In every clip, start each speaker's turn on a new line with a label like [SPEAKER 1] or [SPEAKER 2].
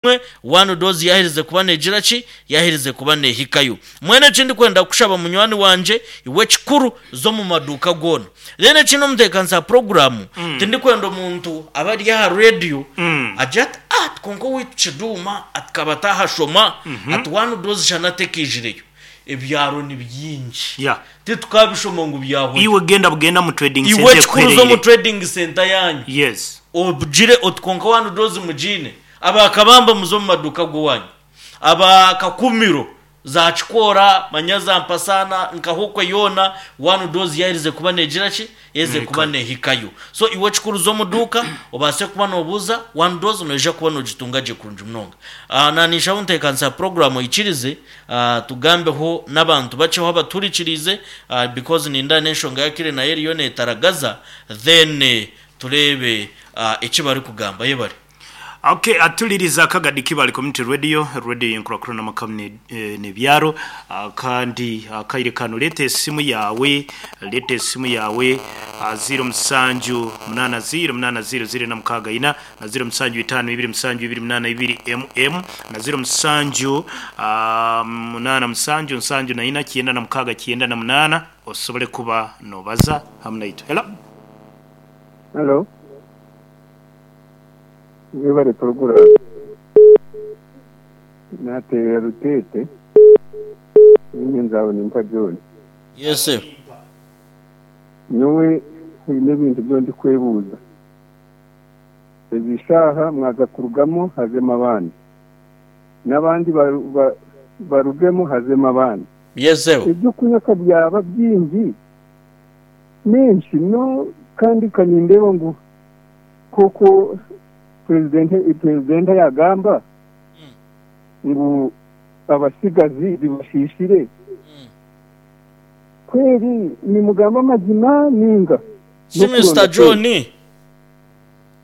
[SPEAKER 1] Emwe, one dose yaherize kuba negira ki? Yaherize kuba nehikayo. Mbwenu eki ndikwenda kukushaba munywani wangye, iwe ekikuru za omu maduuka goona. Then ekindi omuteekanisa wa puroguraamu, tindikwenda omuntu abe ari aha reediyo agire ati ah ati kwonka owaitu Kiduuma ati kaba atahashoma, ati one dose shana atekaijireyo. Ebyaro ni bingi.
[SPEAKER 2] Yeah.
[SPEAKER 1] Titukabishoma ngu byahwayo.
[SPEAKER 2] Iwe genda bugenda omu trading
[SPEAKER 1] Iwe
[SPEAKER 2] centre
[SPEAKER 1] ekikuru za omu
[SPEAKER 2] ekuhereire.
[SPEAKER 1] trading centre yaanyu.
[SPEAKER 2] Yes.
[SPEAKER 1] Ogire oti kwonka one dose mugiine. Aba Kabamba muze omu maduuka ag'owaanyu. Aba Kakumiro, za Kikoora, manya za Mpasaana, nka Hokwe yoona, one dose yaaherize kuba neegira ki? Yaaherize kuba neehikayo. So iwe ekikuru za omu duuka, obaase kuba noobuuza, one dose noija kuba noogitunga gye kurungi munonga. Naaninshaho nteekanisa puroguraamu oikirize tugambeho n'abantu bakyeho abatuhurikiriize because nindeeba n'enshonga y'akaire nayo eriyo neetaragaza, then tureebe eki barikugamba. Yebare.
[SPEAKER 2] Ok atuliriza akagadi Kibale Community Radio, radio yenkurakurana amaka nebyaro kandi akaire kano leeta esimu yaawe leeta esimu yaawe ziiro musanju munaana ziiro munaana ziiro ziiro ena mukaaga ina na ziiro musanju itaano ibiri musanju ibiri munaana ibiri mm na ziiro musanju munaana musanju nsanju na ina kyenda na mukaaga kyenda na munaana osobole kuba nobaza hamu naitwe. Hello.
[SPEAKER 3] Hello. Mwebare puroguraamu. Naateerera Ruteete, niinye Nzabonimpa John.
[SPEAKER 1] Yes sir.
[SPEAKER 3] Nyowe haine ebintu ebi ndikwebuuza. Ezi shaaha mwaza kurugamu hazemu abandi, n'abandi barugemu hazemu abandi.
[SPEAKER 1] Yes sir.
[SPEAKER 3] Eby'okunywa ka byaba bingi, n'enki no kandi ka nindeeba ngu Nk'oku purezidenti yagamba ngu abatsigazi bibashiishire, kweri nimugamba amazima ninga
[SPEAKER 1] Shi Mister
[SPEAKER 3] n'okuronda
[SPEAKER 1] John,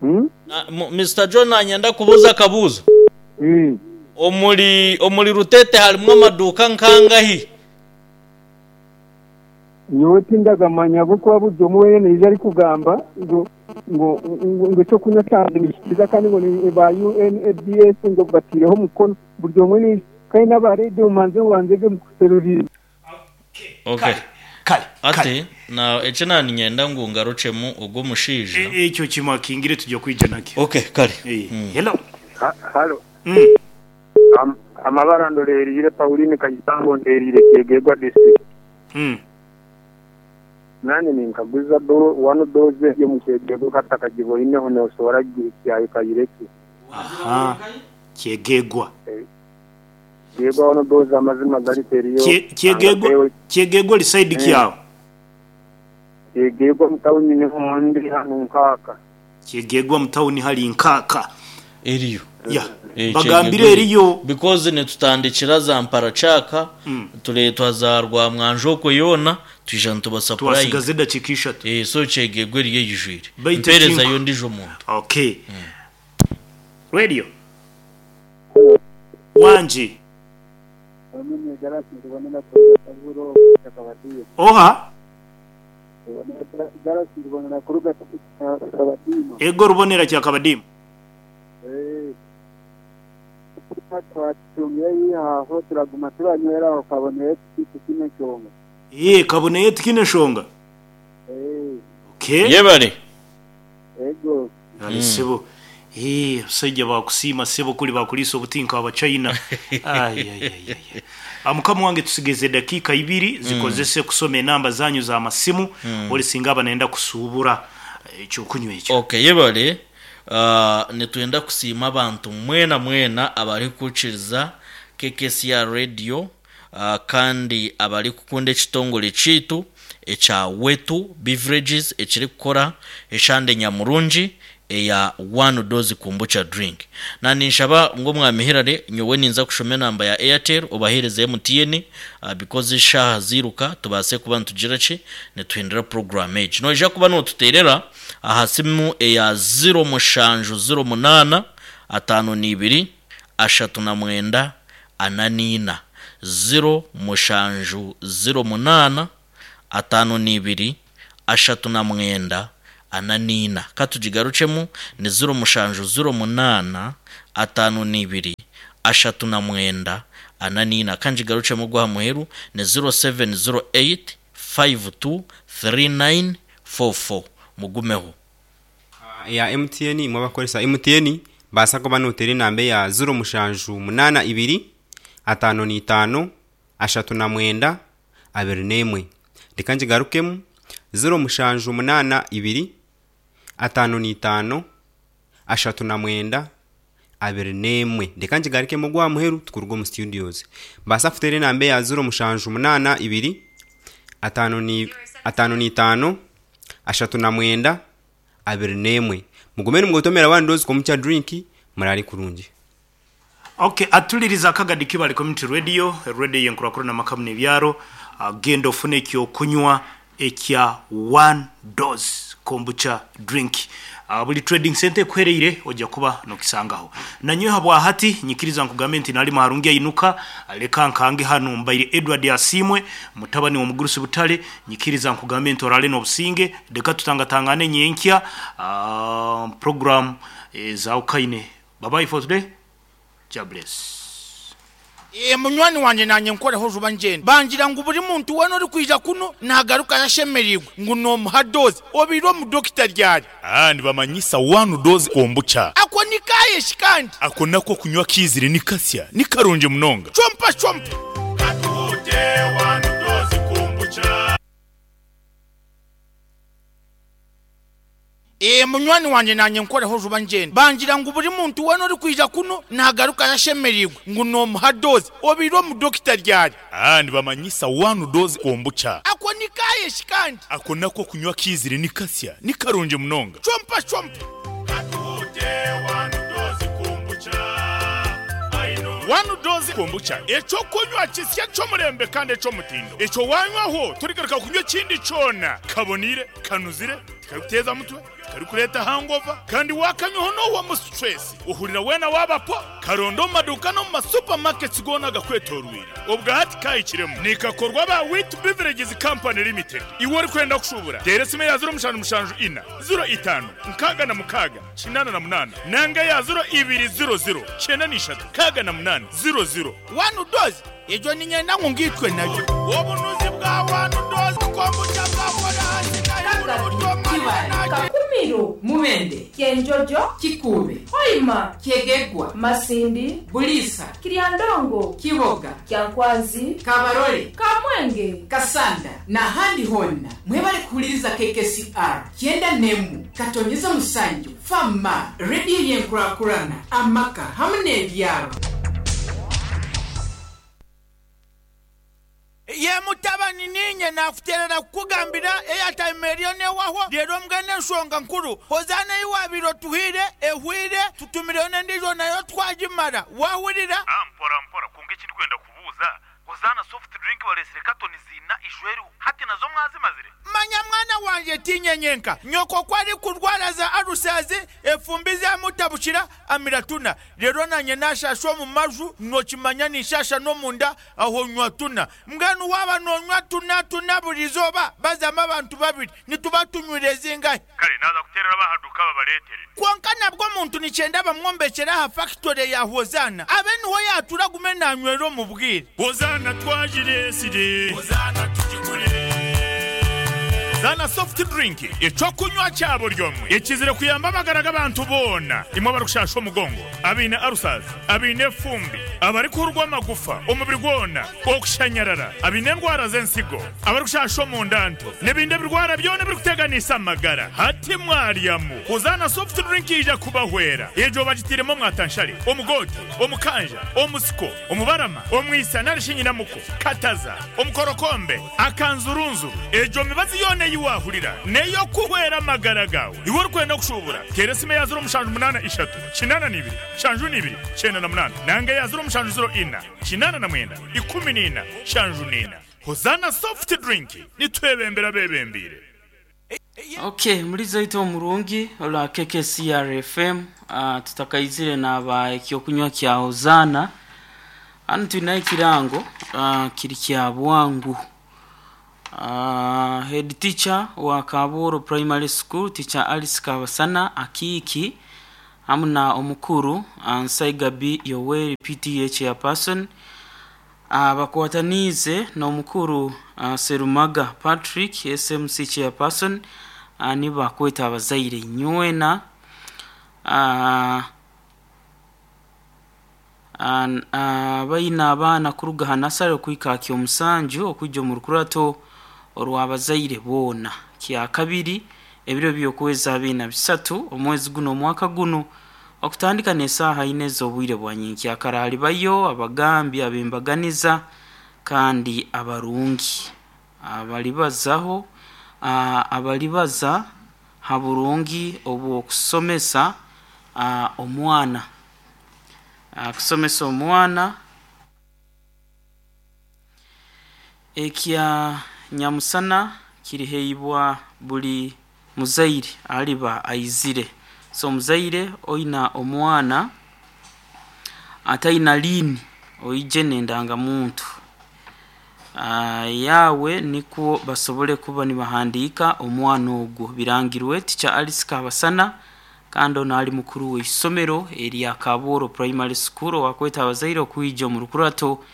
[SPEAKER 3] sente?
[SPEAKER 1] Mister John naanye ndakubuuza akabuuzo. Omuri omuri Rutete harimu amaduuka nkangahi?
[SPEAKER 3] Nyowe tindagamanya ahabw'okuba buri omwe weena naija arikugamba ngu ngu ngu eky'okunywa kyangye nikikiza kandi ngu ni ba UNABS ngu bataireho omukono buri omwe naija kandi n'aba reediyo mubanze mubanze ge mukuseruriire.
[SPEAKER 1] Okay.
[SPEAKER 2] Kale, kale, kale.
[SPEAKER 1] Ati na eki naninyenda ngu ngarukyemu ogwo omushaija.
[SPEAKER 2] Ekyo kimakingire tugya kwija nakyo.
[SPEAKER 1] Okay, kare.
[SPEAKER 2] Hello.
[SPEAKER 4] Halo. Amabara ndoreeriire Pauline Kayisango nteeriire Kyegegwa District. Nanye ninkaguza one dose eri omu Kyegegwa katakagiboineho nosobora kugihikya ekaire ki?
[SPEAKER 2] Aha, Kyegegwa.
[SPEAKER 4] Kyegegwa one dose amazima gari teriyo.
[SPEAKER 2] Kyegegwa, Kyegegwa ori side ki aho?
[SPEAKER 4] Kyegegwa mu town niho ndi hanu nkaaka.
[SPEAKER 2] Kyegegwa mu town hari nkaaka.
[SPEAKER 1] Eriyo.
[SPEAKER 2] Ya.
[SPEAKER 1] Eh,
[SPEAKER 2] Bagambire
[SPEAKER 1] Kyegegwa
[SPEAKER 2] eriyo.
[SPEAKER 1] Because nitutandikira za Mparacaka, tureetwa za Rwamwanja okwo yoona, twija nitubasapurayinga.
[SPEAKER 2] Twasigaza edakiika ishatu.
[SPEAKER 1] Eh, so Kyegegwa eriyo eijwire.
[SPEAKER 2] Baitu
[SPEAKER 1] Mpeerezayo
[SPEAKER 2] ekinko.
[SPEAKER 1] ondiijo muntu.
[SPEAKER 2] Okay. Radio. Wangi. Oha? Ego Rubonera Kyakabadiima. Ee, kaboneye tikiine nshonga. Okay.
[SPEAKER 1] Yebare.
[SPEAKER 2] Kale sebo. Ee, abasaija bakusiima sebo kuri bakuriisa obuti nka Abachina. Ayayayaya. Mukama wange tusigaize edakiika ibiri zikozese kusoma enamba zanyu za masimu ori singa aba nayenda kusuubura ekyokunywa ekyo.
[SPEAKER 1] Okay, yebare. Nitwenda kusiima abantu mwena mwena abarikuhurikiriza KKCR Radio kandi abarikukunda ekitongore kyaitu ekya Wetu Beverages ekirikukora eshande nyamurungi eya One Dose Kombucha Drink. Na ninshaba ngu Omwami Hillary nyowe ninza kushoma enamba ya Airtel obaheereze MTN because eshaaha ziiruka tubaase kuba nitugira ki nituhindura puroguraamu egi. Noija kuba nootuteerera aha simu eya ziro mushanju ziro munaana ataano n'ibiri ashatu na mwenda ana n'ina. Ziro mushanju ziro munaana ataano n'ibiri ashatu na mwenda. ana n'ina. Ka tugigarukyemu, ni ziro mushanju ziro munaana 52 39 44. Ka ngigarukyemu ogw'aha muheru, ni 0708 52 39 44. Mugumeho.
[SPEAKER 5] Eya MTN imwe abakukoresa MTN baasa kuba noteera enamba eya ziro mushanju munaana ibiri ataano n'itaano ashatu na mwenda abiri n'emwe. Reka ngigarukemu ziro mushanju munaana ibiri ataano n'itaano ashatu na mwenda abiri n'emwe. Reka ngigarukemu ogw'aha muheru tukuruga omu studios. Baasa kuteera enamba eya ziro mushanju munaana ibiri ataano ni ataano n'itaano ashatu na mwenda 21. Mugume nimugotomera one dose komukya drink murare kurungi.
[SPEAKER 2] Okay, atuliriza akagadi Kibale Community Radio, radio yenkurakurana amaka n'ebyaro. Genda ofune ekyokunywa ekya one dose kombucha drink. Buli trading center ekuhereire ojja kuba nokisangaho. Nanyowe habwa hati nyikiriza nkugambe nti nali maharungi ainuka leka nkange hanu mbaire Edward Asimwe mutabani wa Mugurusi Butale nyikiriza nkugambe nti orale n'obusinge leka tutangatangane nyenkya program za ukaine. Bye bye for today. Jah bless.
[SPEAKER 6] Ee munywani wangye naanye nkoreho juba ngyenda. Bangira ngu buri muntu weena orikwija kunu naagarukayo ashemereirwe ngu noomuha doozi. Obaire omu dokita ryari?
[SPEAKER 7] Aa nibamanyisa one dose kombucha.
[SPEAKER 6] Ako ni kaaye shi kandi?
[SPEAKER 7] Ako nako okunywa kiizire ni kasya, ni karungi munonga.
[SPEAKER 6] Chompa chompa.
[SPEAKER 7] Katuhute one dose kombucha.
[SPEAKER 6] Ee munywani wangye naanye nkoreho juba ngyenda. Bangira ngu buri muntu weena orikwija kunu naagarukayo ashemereirwe ngu noomuha doozi. Obaire omu dokita ryari?
[SPEAKER 7] Aa nibamanyisa one dose kombucha.
[SPEAKER 6] Ako ni kaaye shi kandi?
[SPEAKER 7] Ako nako okunywa kiizire ni kasya, ni karungi munonga.
[SPEAKER 6] Chompa chompa.
[SPEAKER 7] Katuhute one dose kombucha. One dose kombucha ekyokunywa kisya ky'omurembe kandi eky'omutindo. Ekyo wanywaho torigaruka kunywa ekindi kyona. Kaboniire, kanuzire, tikarikuteeza mutwe, tikarikureeta hangover kandi wakanywaho nohwamu stress. Ohurira weena waaba po. Karonde omu maduuka n'omu ma supermarkets goona agakwetooroire. Obwa hati kahikiremu. Nikakorwa aba Wheat Beverages Company Limited. Iwe orikwenda kushuubura, teera esimu eya ziro mushanju mushanju ina, ziro itaano, nkaaga na mukaaga, 88 nanga eya ziro ibiri ziro ziro, kyenda na ishatu, nkaaga na munaana, ziro ziro.
[SPEAKER 6] One dose, egyo niinyenda ngu ngaitwe nayo. Obunuzi bwa one dose kombucha bwakora ahansi n'ahaiguru buri omwe ariyo
[SPEAKER 8] Kibale,
[SPEAKER 6] naagye.
[SPEAKER 9] Kakumiro,
[SPEAKER 8] Mubende,
[SPEAKER 9] Kyenjojo,
[SPEAKER 8] Kikuube,
[SPEAKER 9] Hoima,
[SPEAKER 8] Kyegegwa,
[SPEAKER 9] Masindi,
[SPEAKER 8] Buliisa,
[SPEAKER 9] Kiryandongo,
[SPEAKER 8] Kiboga,
[SPEAKER 9] Kyankwanzi,
[SPEAKER 8] Kabarole,
[SPEAKER 9] Kamwenge,
[SPEAKER 8] Kasanda n'ahandi hoona mwebale kuhuliriza KKCR kyenda n'emu katonyeza musanju fama rediyo y'enkurakurana amaka hamu n'ebyaro.
[SPEAKER 6] Ye mutabani niinye naakuteerera kukugambira airtime eriyo neehwaho reero mbwenu enshonga nkuru Hozaana ei waabaire otuhaire ehweire tutumireyo n'endiijo nayo twagimara waahurira?
[SPEAKER 10] Ah mpora mpora kwonka eki ndikwenda kubuuza Hozaana soft drink bareetsire katoni ziina ijo eriho hati nazo mwazimazire?
[SPEAKER 6] Manya mwana wangye tiinye nyenka nyoko ku arikurwara za alusazi efumbi zamutabukira amira tuna reero nanye nashasha omu maju nokimanya ninshasha n'omunda aho nywa tuna mbwenu waaba nonywa tuna tuna buri izooba bazamu abantu babiri nituba tunywire zingahi?
[SPEAKER 10] Kare naaza kuteerera ab'aha duuka babareetere.
[SPEAKER 6] Kwonka nabwo omuntu nikyenda bamwombekyere aha fakitore ya Hozaana abe niho yaatura agume naanywera omu bwire.
[SPEAKER 7] Hozaana twagireetsire. Hozaana tugigure. Hozaana soft drink eky'okunywa kya buri omwe ekizire kuyamba amagara g'abantu boona imwe abarikushaasha omugongo, abaine ulcers, abaine efumbi, abarikuhurwa amagufa omubiri gwona, okushanyarara, abaine endwara z'ensigo, abarikushasha omunda nto n'ebindi ebirwara byona ebirikuteganisa amagara. Hati mwaryamu Hozaana soft drink yaija kubahwera. Egyo bagitairemu omwatanshare, omugoote, omukanja, omusiko, omubarama, omwisa nari shi nyinamuko, kataza, omukorokombe, akanzurunzuru. Egyo mibazi yoona ei waahurira n'ey'okuhwera amagara gaawe. Iwe orikwenda kushuubura, teera esimu eya ziro mushanju munaana ishatu, kinaana na ibiri, nshanju na ibiri, kyenda na munaana nanga eya ziro mushanju ziro ina, kinaana na mwenda, ikumi na ina, nshanju na ina. Hozaana soft drink, nitwebembera abeebembeire.
[SPEAKER 11] Ok, mulizo ito omurungi olwa KKCR FM uh, tutakaizire naba ekyokunywa kya Hozana hanu twine ekirango uh, kiri kya bwangu. Head teacher wa Kabuuru Primary School Teacher Alice Kabasana Akiiki hamu na omukuru Nsaigabi Yoweri PTA Chairperson bakwataniize n'omukuru Serumaga Patrick SMC Chairperson nibakweta abazaire nywena abaine abaana kuruga ha nasare okuhika aha kyomusanju okwija omu rukurato orw'abazaire boona kyakabiri ebiro by'okwezi 23 omwezi guno omwaka guno okutandika n'esaaha ina ez'obwire bwa nyenkyakara halibayo abagambi ab'embaganiza kandi abarungi abalibazaho abalibaza ha burungi obw'okusomesa omwana kusomesa omwana ekya nyamusana kiriheibwa buli muzaire aliba aizire so omuzaire oina omwana ataina liini oije n'endangamuntu yawe nikwo basobole kuba nibahandiika omwana ogwo birangirwe Teacher Alice Kabasana kandi ono ali mukuru w'eisomero erya Kabuuru Primary School owakweta abazaire okwija omu rukurato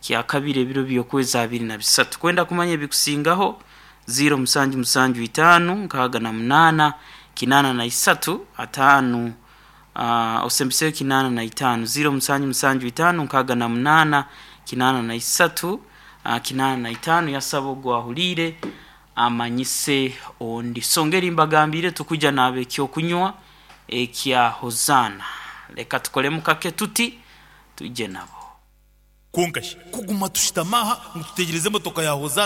[SPEAKER 11] kyakabiri ebiro by'okwezi 23 kwenda kumanya ebikusingaho 0775 68 83 5 osembiseyo 85 0775 68 83 85 yasaba ogwahuliire amanyise ondi songeri mbagambire tukuja nabe ekyokunywa ekya Hosanna leka tukolemu kake tuti tuje nabo
[SPEAKER 10] Konka shi kuguma tushutama aha ngu tutegyereze emotoka ya Hosanna.